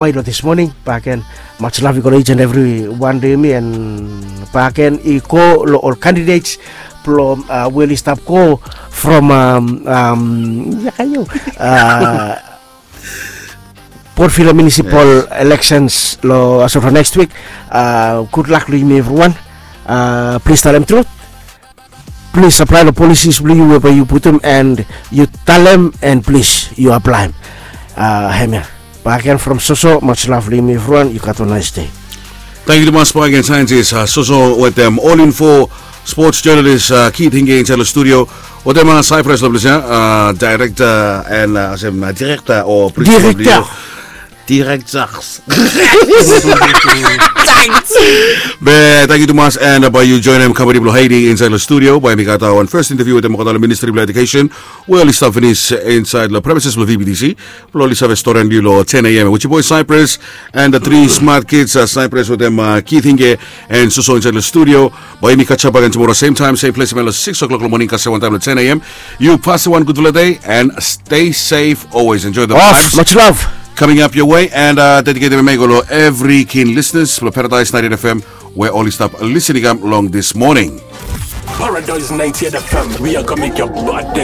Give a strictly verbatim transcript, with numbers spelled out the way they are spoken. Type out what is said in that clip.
Bai lo this morning baken. Much love i go lo each and every one day mi and baken i go lo ol candidates blong uh, we oli stap go from um, um, yakayo uh, Port Vila Municipal Elections lo as of next week. Uh, good luck lo yumi everyone. Uh, please talem truth. Plis aplae long policies blong yu we bae yu putum and yu talem and plis yu aplaem. Hemia baken from Soso, much love long yumi evriwan, yu gat wan nice day. Tangkiu tumas baken saentis Soso wetem ol info, sports journalist Keith Hinge insaed long studio wetem Cyprus long ples ya, director and olsem director o principal blong yu. Directors. Be tangkiu tumas and bae yu joenem company blong Haiti insaed long studio bae mi gat wan first interview wetem olgeta long ministry blong education we oli stap finis insaed long premises blong V B T C blong oli save storian yu long ten A M with your boy Cyprus and the three smart kids, Cyprus wetem Keith Hinge and Soso insaed long studio. Bae yumi catch up again tomorrow same time same place man long six o'clock long morning kasem wantaem long ten A M. Yu pasim wan gudfala day and stay safe always, enjoy the vibes. Much love. Coming up your way and uh, dedicate mi go lo every keen listeners lo Paradise ninety-eight F M we oli stap listening am long this morning. Paradise ninety-eight F M, we are gonna make your body